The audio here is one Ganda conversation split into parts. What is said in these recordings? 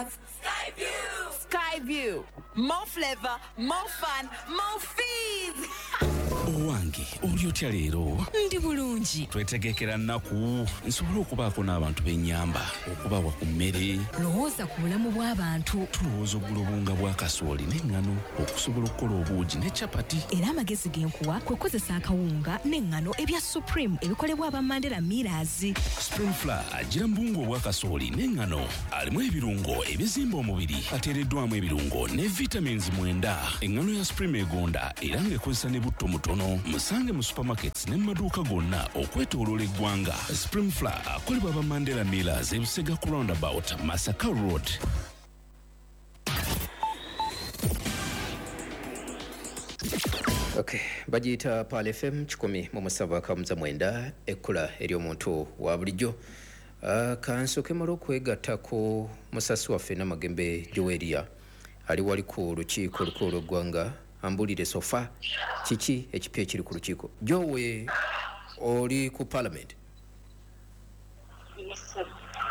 Skyview! Skyview. More flavor, more fun, more fees! Owange, oli otya leero? Ndi bulungi. Twetegekera nnaku nsobole okubaako n'abantu b'ennyamba, okubawa ku mmere. Lowooza ku bulamu bw'abantu. Tulowooza okugula obuwunga bwa kasooli n'eŋŋano okusobola okukola obuugi ne capati. Era amagezi ge nkuwa kwe kukozesa akawunga n'eŋŋano ebya Supreme ebikolebwa aba Mandela Millers. Supreme Flour agira mu buwunga obwa kasooli n'eŋŋano, alimu ebirungo ebizimba omubiri, ateereddwamu ebirungo ne vitamins 9. Eŋŋano ya Supreme egonda era ng'ekozesa ne butto mutono. Musange mu supermarkets ne mu maduuka gonna okwetooloola eggwanga. Supreme Flour akolebwa aba Mandela Millers, Ebusega ku roundabout, Masaka Road. Okay, bagiyita Pearl FM 107.9, ekkula ery'omuntu wa bulijjo. Kansooke mala okwegatta ku musasi waffe Namagembe Joweria ali wali ku lukiiko olukulu lw'eggwanga, ambulire so far kiki ekipya ekiri ku lukiiko. Jowe, oli ku parliament? Yes, sir.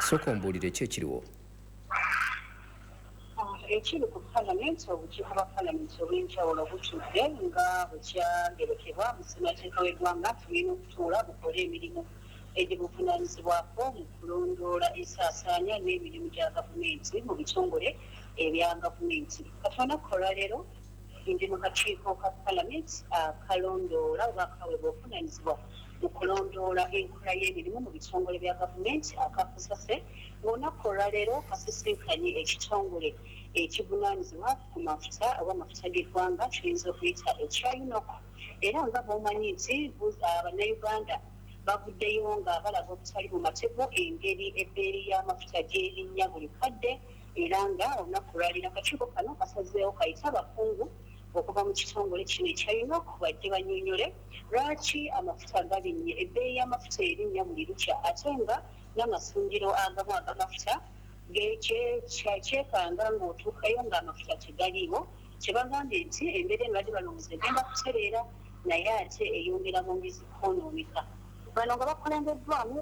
Sooka ombuulire ki ekiriwo. Ekiri ku palamenti, obukiiko bwa palamenti obw'enjawulo butudde nga bwe kyagerekebwa mu ssemateeka w'eggwanga nti bulina okutuula bukole emirimu egibuvunaanyizibwako mu kulondoola ensaasaanya n'emirimu gya gavumenti mu bitongole ebya gavumenti. Kati olunaku olwaleero ndi mu kakiiko ka palamenti akalondoola oba akaweebwa obuvunaanyizibwa mu kulondoola enkola y'emirimu mu bitongole bya gavumenti aka COSASE, ng'olunaku olwaleero kasisinkanye ekitongole ekivunaanyizibwa ku mafuta oba amafuta g'eggwanga kiyinza okuyita ekya UNOC. Era nga bw'omanyi nti Bannayuganda bavuddeyo nga balaga obutali bumativu engeri ebbeeyi y'amafuta gy'erinnya buli kadde, era nga olunaku olwaleero akakiiko kano kasazeewo kayite abakungu okuva mu kitongole kino ekya UNOC bajje bannyonnyole lwaki amafuta galinnye, ebbeeyi y'amafuta erinnya buli lukya, ate nga n'amasundiro agamu ag'amafuta kyekanga ng'otuukayo ng'amafuta tegaliiwo. Kyebagambye nti embeera eno badde balowooza egenda kutereera, naye ate eyongera bwongezi kwonooneka. Bano nga bakulembeddwamu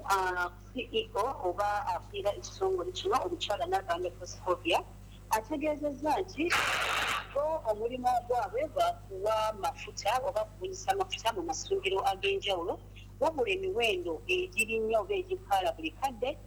CEO oba akulira ekitongole kino, omukyala Nabanja Proscovia, ategeezezza nti bo omulimu gwabwe gwa kuwa mafuta oba kubunyisa mafuta mu masundiro ag'enjawulo, wabula emiwendo egirinnya oba egikaala buli kadde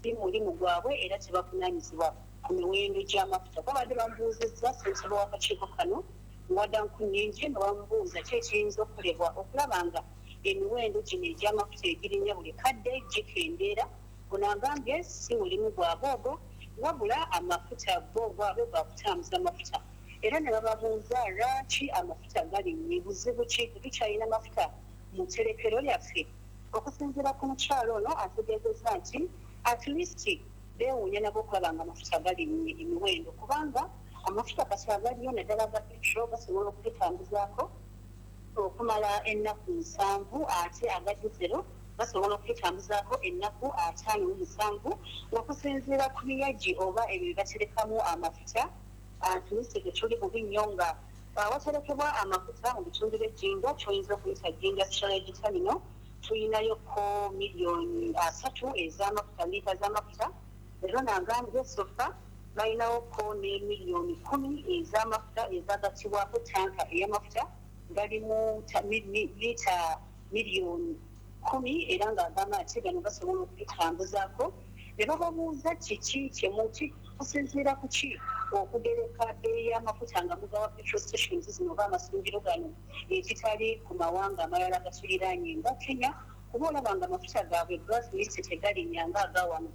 si mulimu gwabwe era tebavunaanyizibwa ku miwendo gy'amafuta. Babadde bamubuuzizza ssentebe w'akakiiko kano Wada Nkunnyingi nga bamubuuza ki ekiyinza okukolebwa okulaba nga emiwendo gino egy'amafuta egirinnya buli kadde gikendeera. Ono agambye si mulimu gwabwe ogwo, wabula amafuta bo gwabwe gwa kutambuza mafuta. Era ne bababuuza lwaki amafuta galinnye, buzibu ki, tetukyalina mafuta mu tterekero lyaffe? Okusinziira ku mukyala ono ategeezezza nti at least beewuunya nabo okulaba nga amafuta galinnye emiwendo, kubanga amafuta kati agaliyo naddala aga petrol gasobola okututambuzaako okumala ennaku 70, ate aga dizero gasobola okututambuzaako ennaku 57, ng'okusinziira ku biyagi oba ebyo bye baterekamu amafuta, at least tetuli bubi nnyo nga awaterekebwa amafuta mu bitundu by'e Jinja, ky'oyinza okuyita Jinja Storage Terminal, tulinayoko miliyoni 30 ez'amafuta, liita z'amafuta. Era nagambye so far balinawoko ne miliyoni 10 ez'amafuta ezagattibwako tanka ey'amafuta galimu liita miliyoni 10, era ng'agamba nti gano gasobola okututambuzaako. Ne bababuuza kiki kyemuki kusinziira ku ki okugereka bbeeyi y'amafuta nga mugawa petrol stations zino oba amasundiro gano, ekitali ku mawanga amalala gatuliraanye nga Kenya, kuba olaba nga amafuta gaabwe gavumenti tegalinnya nga agawano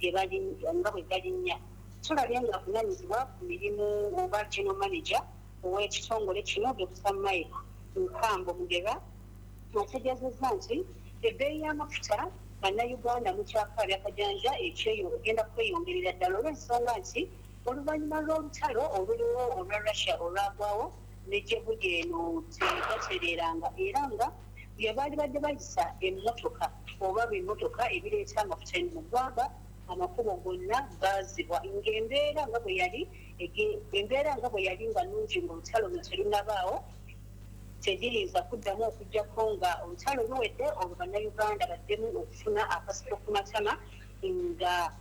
nga bwe galinnya. Tulabye nga avunaanyizibwa ku mirimu oba general manager ow'ekitongole kino, Dr Mike Nkambo Mugerwa, ategeezezza nti ebbeeyi y'amafuta, Bannayuganda mukyakaabya kajanja, ekyeyo egenda kweyongerera ddala olw'ensonga nti oluvannyuma lw'olutalo oluliwo olwa Russia olwagwawo ne gye buli eno tegatereeranga, era nga bye baali badde bayisa emmotoka oba bimmotoka ebireeta amafuta eno mu ggwanga, amakubo gonna gaazibwa, ng'embeera nga bwe yali embeera nga bwe yali nga nnungi ng'olutalo luno terunnabaawo tegiyinza kuddamu okuggyako nga olutalo luwedde, olwo Bannayuganda baddemu okufuna akasiko ku matama nga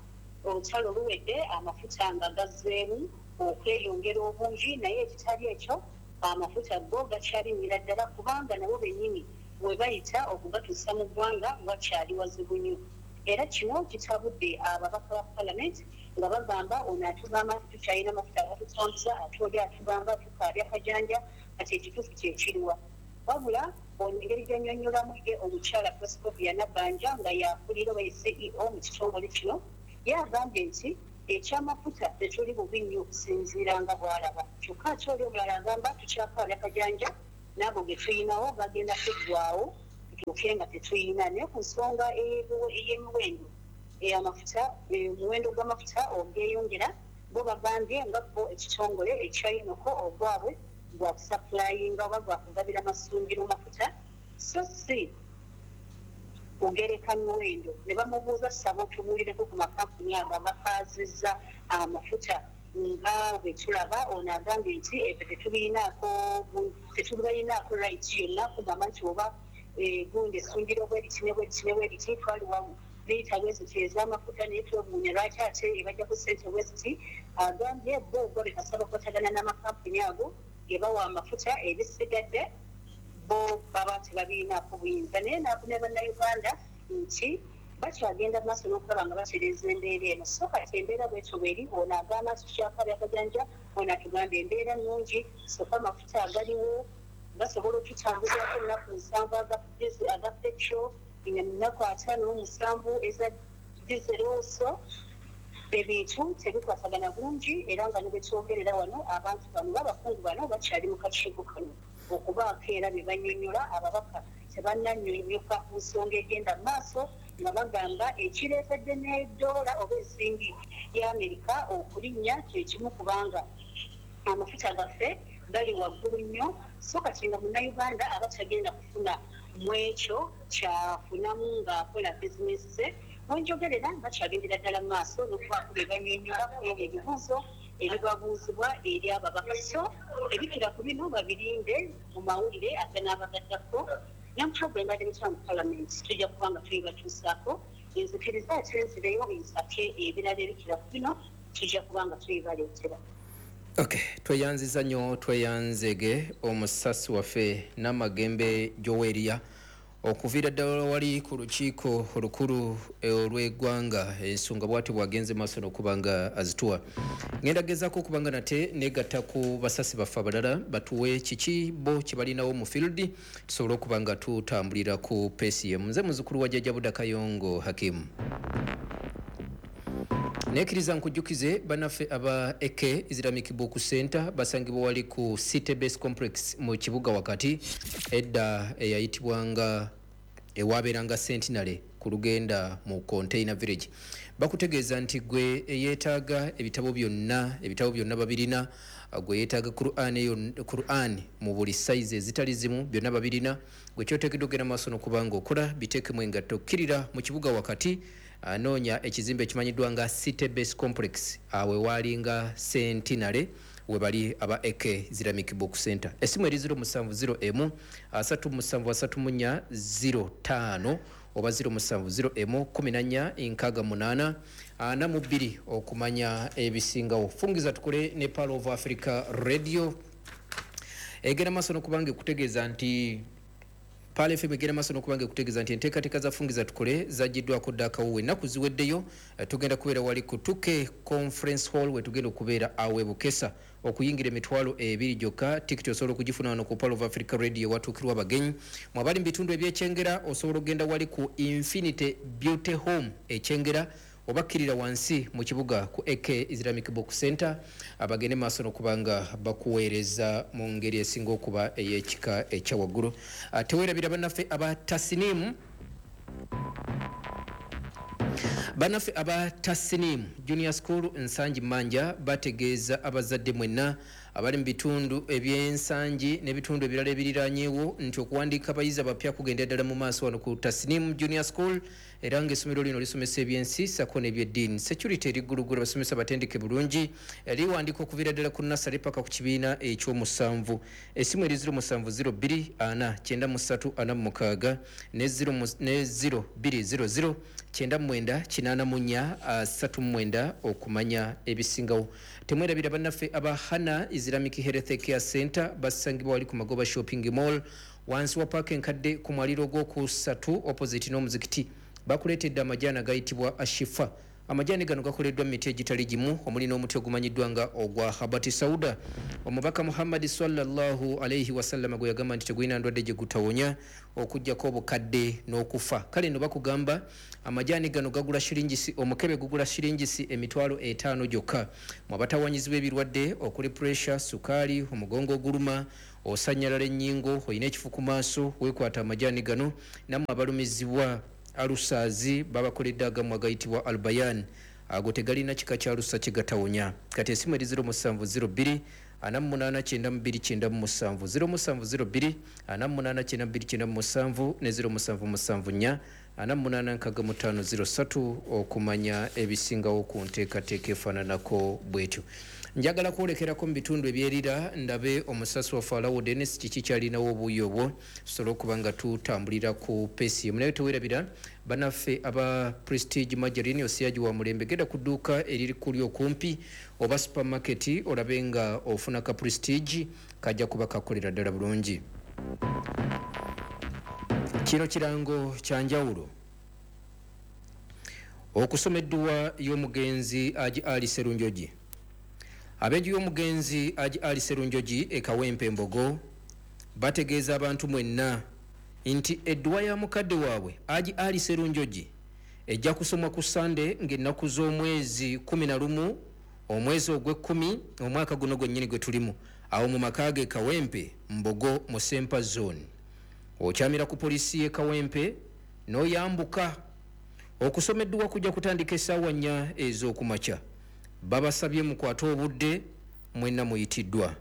Olutalo luwedde, amafuta nga gazzeemu okweyongera obungi, naye ekitali ekyo, amafuta go gakyalinnyira ddala kubanga nabo bennyini we bayita okugatuusa mu ggwanga wakyali wazibu nnyo. Era kino kitabudde ababaka ba palamenti nga bagamba, ono atugamba nti tukyalina amafuta agatutambuza, ate oli atugamba tukaabya kajanja. Kati ekituufu kyekiriwa? Wabula ono engeri gyannyonnyolamu ye omukyala Proscovia Nabbanja, nga yakulira oba ye CEO mu kitongole kino, ye agambye nti ekyamafuta tetuli bubi nnyo okusinziira nga bw'alaba. Kyokka ate oli omulala agamba tukyakaabya kajanja, n'ago ge tuyinawo gagenda kuggwawo tutuuke nga tetuyina. Naye ku nsonga ey'emiwendo amafuta, omuwendo gw'amafuta ogweyongera, bo bagambye nga bo ekitongole ekya UNOCO ogwabwe gwa kusupplyinga oba gwakugabira masundiro mafuta, so si kugereka miwendo. Ne bamubuuza, saba otubuulireko ku makampuni ago agakaazizza amafuta nga bwe tulaba. Ono agambye nti ebyo tetubalinaako right yonna kugamba nti oba gundi essundiro bweriti ne bweriti ne bweriti, twaliwa liita bweziti ez'amafuta, naye twewuunya lwaki ate ebajjako ssente bweziti. Agambye bo ogwabwe kasaba bakwatagana n'amakampuni ago ge bawa amafuta, ebisigadde bo baba tebabirinaako buyinza. Naye nakunira Bannayuganda nti bakyagenda maaso n'okulaba nga batereeza embeera eno. So kati embeera bwetyo bweri. Ono agamba nti tukyakaabya akajanja, ono atugamba embeera nnungi, soka amafuta agaliwo gasobola okututambuzaako ennaku 70 aga petrol, ennaku 57 eza diesel. So ebintu tebikwatagana bulungi, era nga ne bwetwogerera wano, abantu bano babakungu bano bakyali mu kakiiko kano okubaako era bye bannyonnyola ababaka. Tebannannyonnyoka ku nsonga egenda mu maaso, nga bagamba ekireetedde n'eddoola oba ensimbi ya Amerika okulinnya kyekimu kubanga amafuta gaffe gali waggulu nnyo. So kati nga Munnayuganda aba tagenda kufuna mu ekyo kyafunamu ng'akola bizinesi ze. Wenjogerera bakyagendera ddala mu maaso n'okubaako bye bannyonnyola ku ebyo ebibuuzo ebibabuuzibwa eri ababaka. So ebikira ku bino babirinde mu mawulire aganaabagaddako ne mbadde mutya mu palamenti, tujja kuba nga tuyibatuusaako. Nzikiriza ate nzireyo nsake ebirala ebikira ku bino, tujja kuba nga tuyibaleetera. Okay, tweyanziza nnyo, tweyanzege omusasi waffe Namagembe Joweria okuviira ddala wali ku lukiiko olukulu olw'eggwanga. Ensonga bwati bwagenze maaso n'okuba nga azituwa. Ngenda gezaako okuba nga nate negatta ku basasi baffe abalala batuwe kiki bo kye balinawo mu field, tusobole okuba nga tutambulira ku pace emu. Nze muzukulu wa Jjajja Buda Kayongo Hakimu. Nekkiriza nkujjukize bannaffe aba AK Islamic Book Center basangibwa wali ku City Base Complex mu kibuga wakati, edda eyayitibwanga ewabeeranga Centenary ku lugenda mu Container Village. Bakutegeeza nti gwe eyeetaaga ebitabo byonna, ebitabo byonna babirina. Gwe yeetaaga Quran mu buli size ezitali zimu, byonna babirina. Gwe kyoteekeddwa ogenda maaso n'okuba nga okola biteekemu engatto, kkirira mu kibuga wakati, anoonya ekizimbe ekimanyiddwa nga City Base Complex, awe waalinga Centenary, we bali aba AK Islamic Book Center. Essimu eri 070 37 34 05 oba 0701 14 68 42 okumanya ebisingawo. Fungiza tukole ne Pearl of Africa Radio egenda maaso n'okubanga ekutegeeza nti Pearl FM egenda maaso n'okubanga ekutegeeza nti enteekateeka za Fungiza Tukole zagiddwako dda akawuwo. Ennaku ziweddeyo, tugenda kubeera wali ku 2K Conference Hall, we tugenda okubeera awe Bukesa. Okuyingira 20,000 gyokka. Tikiti osobola okugifuna wano ku Pearl of Africa Radio watuukirwa abagenyi. Mwabali mu bitundu ebyekyengera, osobola okugenda wali ku Infinity Beauty Home Ekyengera, oba kkirira wansi mu kibuga ku AK Islamic Book Center, abagende maaso n'okuba nga bakuweereza mu ngeri esinga okuba ey'ekika ekyawaggulu. Teweerabira bannaffe aba Tasinimu. Bannaffe aba Tasinimu Junior School Nsangi Manja bategeeza abazadde mwenna abali mu bitundu ebyensangi n'ebitundu ebirala ebiriranyeewo nti okuwandiika abayizi abapya kugenda ddala mu maaso wano ku Tasinimu Junior School. Era ng'essomero lino lisomesa ebyensi sako n'ebyeddiini. Security eri ggulugulu, abasomesa batendeke bulungi. Liwandika okuviira ddala ku nasale paka ku kibiina ekyomusanvu. Essimu eri 0702 4 93 46 ne 0200 99 84 39 okumanya ebisingawo. Temwerabira bannaffe aba Hana Islamic Health Care Center, basangibwa wali ku Magoba Shopping Mall, wansi wa paaka enkadde, ku mwaliro ogwokusatu, opposite n'omuzikiti. Bakuleetedde amajaani agayitibwa Ashifa. Amajaani gano gakoleddwa mu miti egitali gimu, omuli n'omuti ogumanyiddwa nga ogwa habati sauda, omubaka Muhammadi sallallahu alaihi wasallama gwe yagamba nti tegulina ndwadde gye gutawonya okugjako obukadde n'okufa. Kale no bakugamba amajaani gano gagula shiringisi, omukebe gugula shiringisi 50,000 gyokka. Mwabatawanyizibwa ebirwadde okuli pressure, sukaali, omugongo oguluma, osanyalala ennyingo, olina ekifu ku maaso, weekwata amajaani gano. Nammwe abalumizibwa alusaazi, babakoledde agamu agayitibwa Albayan, ago tegalina kika kya lusa kigatawonya. Kati esimu eri 0702 48 92 97, 0702 48 92 97 ne 0774 48 65 03 okumanya ebisingawo ku nteekateeka efaananako bwetyo. Njagala kwolekerako mu bitundu ebyerira, ndabe omusasi waffe Alawo Denis kiki kyalinawo obuuyi obwo, tusobole okuba nga tutambulira ku pace emu. Naye tewerabira bannaffe aba Prestige Margarine, osiyagi wa mulembe. Genda ku dduuka eriri kuli okumpi oba supermarket, olabe nga ofuna ka Prestige, kajja kuba kakolera ddala bulungi. Kino kirango kya njawulo: okusoma edduwa y'omugenzi Aji Ali Serunjogi. Ab'enju y'omugenzi Aji Ali Serunjogi e Kawempe Mbogo bategeeza abantu mwenna nti edduwa ya mukadde waabwe Aji Ali Serunjogi ejja kusomwa ku Sande ng'ennaku z'omwezi 11, omwezi ogw'ekkumi, omwaka guno gwennyini gwe tulimu, awo mu maka ge Kawempe Mbogo mu Sempa Zone. Okyamira ku poliisi y'e Kawempe n'oyambuka. Okusoma edduwa kujja kutandika essaawa 4 ez'okumakya. Babasabye mukwate obudde, mwenna muyitiddwa.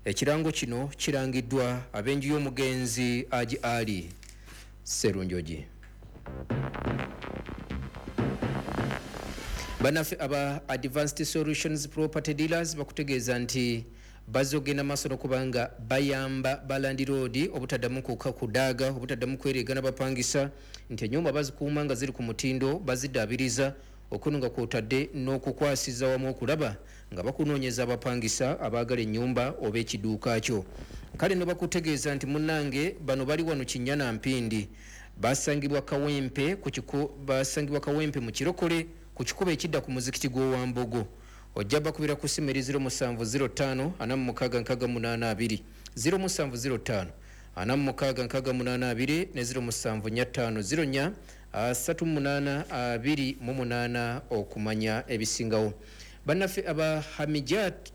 Ekirango kino kirangiddwa ab'enju y'omugenzi Aji Ali Serunjogi. Bannaffe aba Advanced Solutions Property Dealers bakutegeeza nti bazze okugenda maaso n'okubanga bayamba balandiroodi obutaddamu kudaaga, obutaddamu kwereegana bapangisa, nti ennyumba bazikuuma nga ziri ku mutindo, baziddaabiriza okuno nga kwotadde n'okukwasiza wamu okulaba nga bakunoonyeza abapangisa abaagala ennyumba oba ekiduuka kyo. Kale no bakutegeeza nti munnange bano bali wano Kinnyana Mpindi, basangibwa Kawempe ku basangibwa Kawempe mu Kirokole, ku kikubo ekidda ku muzikiti gw'Owambogo. Ojja bakubira ku simu eri 0705 46 68 2, 0705 46 68 2 ne 0745 04 38 28 okumanya ebisingawo. Bannaffe aba Hamijat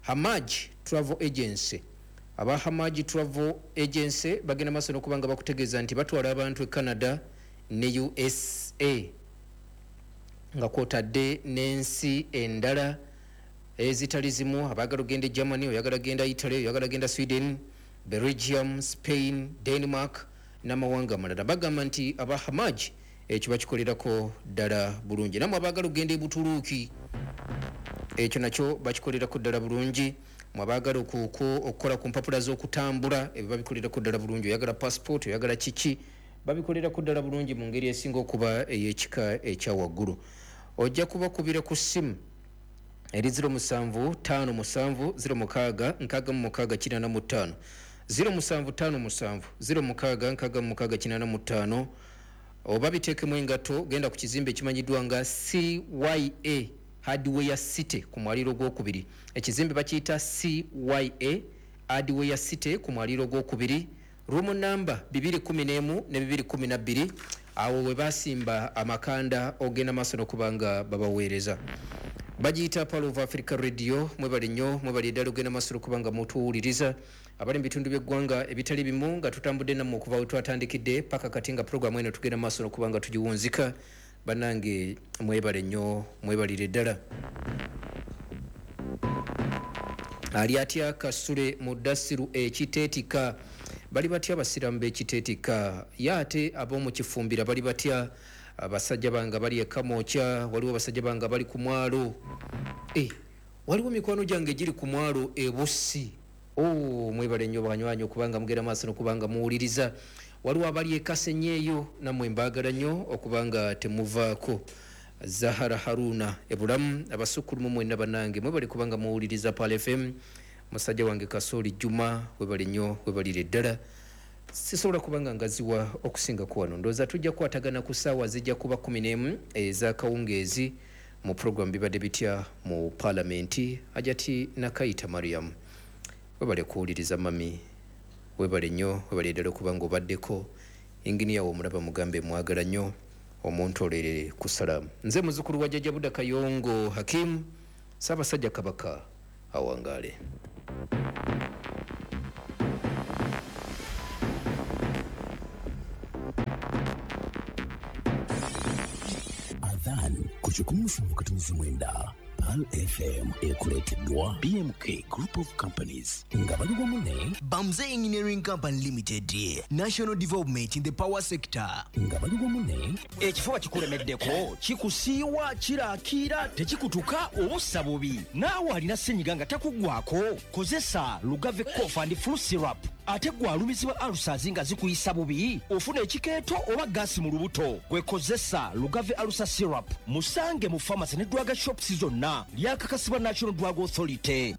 Hamaj Travel Agency, aba Hamaj Travel Agency bagenda maaso n'okuba nga bakutegeeza nti batwala abantu e Canada ne USA, nga kwotadde n'ensi endala ezitali zimu. Abaagala ogenda e Germany, oyagala genda Italy, oyagala genda Sweden, Belgium, Spain, Denmark n'amawanga amalala, bagamba nti aba Hamaj ekyo bakikolerako ddala bulungi. Nammwe abaagala okugenda e Butuluuki, ekyo nakyo bakikolerako ddala bulungi. Mwabaagala okukola ku mpapula z'okutambula, ebyo babikolerako ddala bulungi. Oyagala passport, oyagala kiki, babikolerako ddala bulungi mu ngeri esinga okuba ey'ekika ekya waggulu. Ojja kubakubira ku ssimu eri 07 57 06 66 85, 0757 06 66 85, oba biteekemu engatto, genda ku kizimbe ekimanyiddwa nga CYA Hardware City ku mwaliro gwokubiri. Ekizimbe bakiyita CYA Hardware City ku mwaliro gwokubiri, room namba 211 ne 212. Awo we basimba amakanda ogenda maaso n'okuba nga babaweereza. Bagiyita Pearl of Africa Radio. Mwebale nnyo, mwebale ddala ogenda maaso n'okuba nga mutuwuliriza abali mu bitundu by'eggwanga ebitali bimu, nga tutambudde nammwe okuva we twatandikidde paka kati nga puroguramu eno tugenda maaso n'okuba nga tugiwunzika. Bannange mwebale nnyo, mwebalire ddala. Ali atya Kasule mu Dasiru ekiteetika? Bali batya abasiraamu b'ekiteetika? Ye ate ab'omu Kifumbira bali batya? Abasajja bange bali e Kamwokya, waliwo abasajja bange bali ku mwalo. Waliwo mikwano gyange egiri ku mwalo e Bussi. Oh, mwebale nnyo banywanyi okubanga mugenda maaso n'okubanga muwuliriza. Waliwo abali e Kasenyi eyo, nammwe mbaagala nnyo okubanga temuvaako. Zahara Haruna ebulamu, abasukkulumu mwenna bannange mwebale kubanga muwuliriza Pearl FM. Musajja wange Kasooli Juma, webale nnyo, webalire ddala. Sisobola kubanga ngaziwa okusingako wano. Ndowooza tujja kukwatagana ku ssaawa zijja kuba 11 ez'akawungeezi mu program Bibadde Bitya mu Palamenti. Hajati Nakayita Mariam, webale kuwuliriza mami, webale nnyo, webale ddala okuba nga obaddeko. Inginiya wo omulaba mugambe mwagala nnyo, omuntu olere ku salaamu. Nze muzukulu wa Jjajja Buda Kayongo Hakim, Ssaabasajja Kabaka awangaale. Adhan ku 107.9 Pearl FM ekuleeteddwa BMK Group of Companies nga bali wamu ne Bamze Engineering Company Limited, National Development in the Power Sector. Nga bali wamu ne Ekifuba kikulemeddeko, kikusiiwa, kirakiira, tekikutuka oba ossa bubi. Naawe alina ssenyiga nga takuggwako, kozesa Lugave Cough and Flu Syrup. Ate gwe alumizibwa ulcers nga zikuyisa bubi, ofuna ekikeeto oba gaasi mu lubuto, gwe kozesa Lugave Ulcer Syrup. Musange mu pharmacy ne drug shops zonna. Lyakakasibwa National Drug Authority.